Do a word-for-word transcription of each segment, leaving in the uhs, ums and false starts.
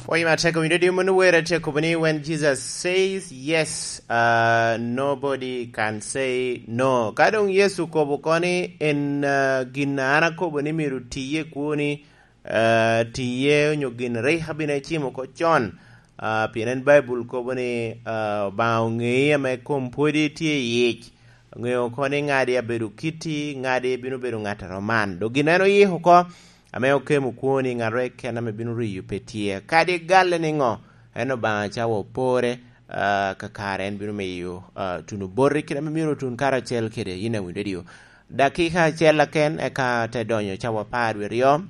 Pwony matek owinyo di mano wer atye akobo ni, "When Jesus says yes, uh, nobody can say no." Ka doŋ Yecu okobo oko ni en, uh, gin a an akobo ni myero tiye kwoni, uh, tiye onyo gin rik abino ecimo oko con, uh, pien en Baibul kobo ni, uh, Obaŋa oŋei ame kom pwodi tye i yic. Oŋeo oko ni ŋadi abedo kiti, ŋadi bino bedo ŋat a roman. Dok gin en oyiko oko, ame okemo kwoni, ŋat rik en ame bino riyo pe tye. Kadi galle niŋo, en Obaŋa cawa opore, ah, kakare en bino miyo, ah, tuno boti kite ame myero otun karacel kede yin a winyo redio. Dakika acel aken, eka te donyo cawa apar wie aryo.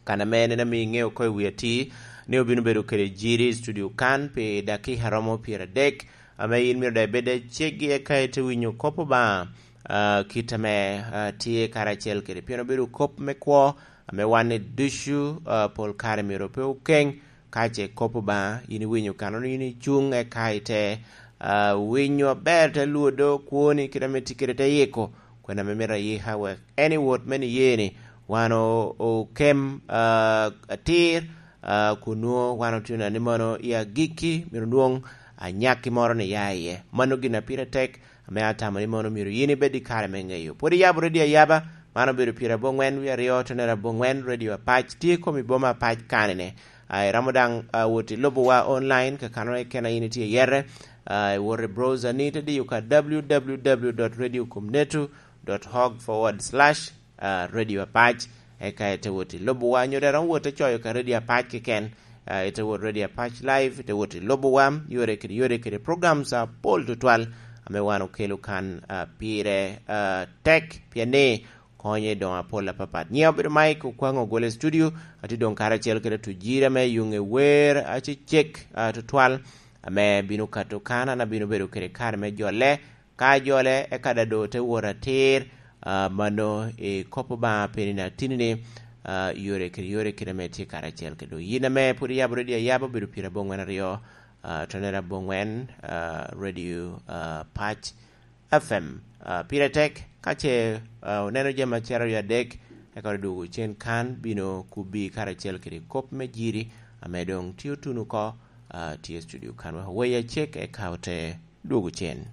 Kan ame en ame iŋeo oko i wi ati, ni obino bedo kede jiri i studio kan pi dakika romo pyeradek, ame yin myero daŋ ibed aceggi eka ite winyo kop Obaŋa, ah, kit ame, ah, tye karacel kede. Pien obedo kop me kwo, ame wan i ducu, ah, pol kare myero pe okeŋ, ka ce kop Obaŋa, yin iwinyo kano ni yin icuŋ eka ite, ah, winyo aber, te lwodo kwoni kit ame tye kede te yiko, kwena ame myero ayika wek en i wot me niye-ni, wan o-, okem, ah, atir, ah, kun nwoŋo wan otuno ni mono i agikki myero nwoŋ anyakki moro ni ya iye. Mano gin a pire tek, ame atamo ni mono myero yin ibed i kare me ŋeyo. Pwod iyabo redio ayaba, man obedo pyerabongwen wie aryo, tonere abongwen, redio Apac tye i kom i boma Apac kanene. Ah, iromo daŋ, ah, wot i lubowa online, kakano keken a yin itye i yere, ah, iwot i browser ni, ite diyo ka w w w dot radio com neto dot org forward slash ah, Radio Apac, eka ite wot i lubowa, nyo daŋ iromo wot te coyo ka Radio Apac keken, ah, ite wot Radio Apac Live, ite wot i lubowa, yore kede yore kede programs apol tutwal ame wan okelo kan, ah, pire, ah, tek, pien ni konye doŋ apol apapat. Nyiŋa obedo Mike Okwaŋ, ogwel i studio, atye doŋ karacel kede Tujira me yuŋe wer acecek, ah, tutwal, ame bino kato kan, an abino bedo kede kare me jole, ka jole, eka daŋ doŋ te wot atir, ah, mano i kop Obaŋa pien i atini-ni, ah, yore kede yore kede ame tye karacel kede yin ame pwod iyabo redio ayaba obedo pyerabongwen aryo, ah, tonere abongwen, ah, redio, ah, Pac F M. Ah, pire tek, ka ce, ah, oneno jami acel aryo adek, eka odwogo cen kan, bino kubbi karacel kede kop me jiri, ame doŋ tye otuno oko, ah, tye i studio kan. Wek oweya cek, eka ote dwogo cen.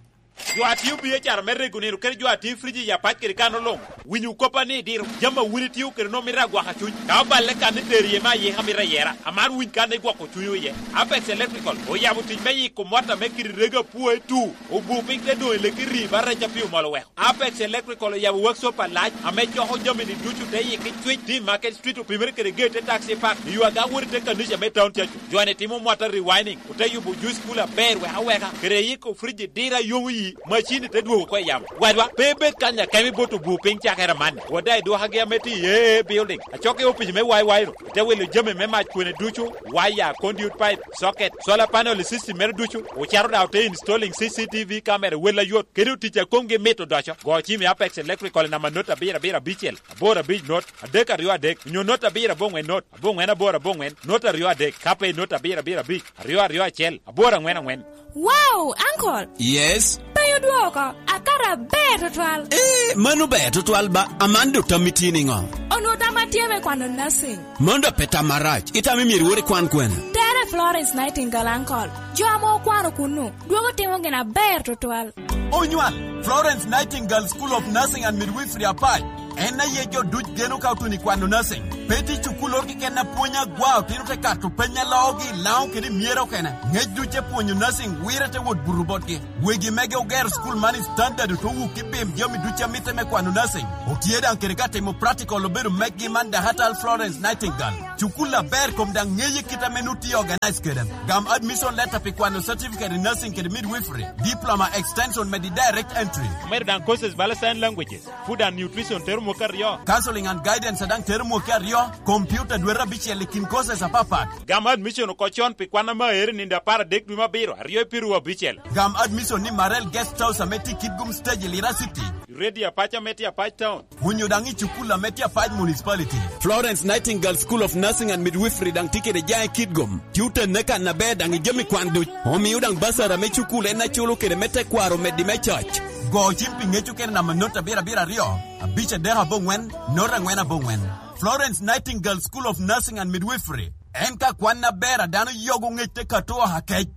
Jo a tio biacara me rego nino kede jo a tio frij i Apac kede kan oloŋ. Winyo koppa ni diro, jami a wun itio kede nwoŋo mito agwaka cuny. Ka oballe kan ni tero iye me ayika mito ayera, amaro winy kan ni gwoko cunywu iye. Apex Electrical oyabo tic me yiko mot ame kite rego apwoe tu, obu piny te doŋ i leki ri ba rec a pi omol oweko. Apex Electrical oyabo workshop alac ame coko jami-ni ducu te yiki cwic, tye i Market Street, opimere kede gate te taxi park, i yo aga wot i te kanica me town Churchill. Jo-ni timo mota rewinding, ote yubo juice cooler aber wek aweka, kede yiko fridge dira yomo yi, macini te dwogo oko i yamo. Wadwa, pe ibed kanya kemi bot obu piny cakere amanni. Wot daŋ idwokagi ame tye i A A building, acokki opic me Y Y ro, ite wilo jami me mac kwene ducu, waya, conduit pipe, socket, solar panel system mere ducu, ocito daŋ ote installing C C T V camera wel ayot, kede otic a komgi mit odoco. Go cim i Apex Electrical i namba not abiro abiro abicel, aboro abic not, adek aryo adek, onyo not abiro abongwen not, abongwen aboro abongwen, not aryo adek, ka pe i not abiro abiro abic, aryo aryo acel, aboro angwen angwen. Wow, Uncle! Yes? Pe odwoko, akato aber tutwal. Eh, mano ber tutwal ba, Amanda otammi tye niŋo? Onwoŋo tam atye me kwano nursing. Mano dok pe tam marac, itamo myero iwot ikwan kwene? Tere Florence Nightingale, Uncle. Jo ame okwano kunnu, dwogo timo gin aber tutwal. Onywal, Florence Nightingale School of Nursing and Midwifery Apac. En aye jo duc geno ka otuno i kwano nursing. Pe tye cukul oro keken a pwonyo agwa, otino te kato peny a loogi, Laŋo kede myero okene. Ŋec duc te pwonyo nursing, wire te wot buto botgi. Wegi mege ogero cukul man i standard, ote wuk i bim jami duc a mitte me kwano nursing. Otye daŋ kede ka timo practical obedo meggi man Dahatal Florence Nightingale. Cukul aber kom daŋ ŋeye kit ame nut tye organize kede. Gam admission letter pi kwano certificate in nursing kede midwifery, diploma, extension medi direct entry. Omedo daŋ courses bala sign languages, food and nutrition tero mwaka aryo. Counseling and guidance daŋ tero mwaka aryo, computer dwete abicel i kin courses apapat. Gam admission oko con pi kwan ame aere nindo apar adek dwe me abiro, aryo i piru abicel. Gam admission ni Marel Guest House ame tye i Kitgum Stage i Lira City. Ready Apac ame tye Apac Town. Onyo daŋ i cukul ame tye Apac Municipality. Florence Nightingale School of Nursing and Midwifery daŋ tye kede jaŋ i Kitgum. Tye otenne kan aber daŋ i jami kwan duc. Omio daŋ basara me cukul en aculo kede me tekwaro omeddi me coc. Go cim pi ŋec okene namba not abiro abiro aryo, abic adek abongwen, not angwen abongwen. Florence Nightingale School of Nursing and Midwifery. En ka kwan aber a dano yogo ŋec te kato oha kec.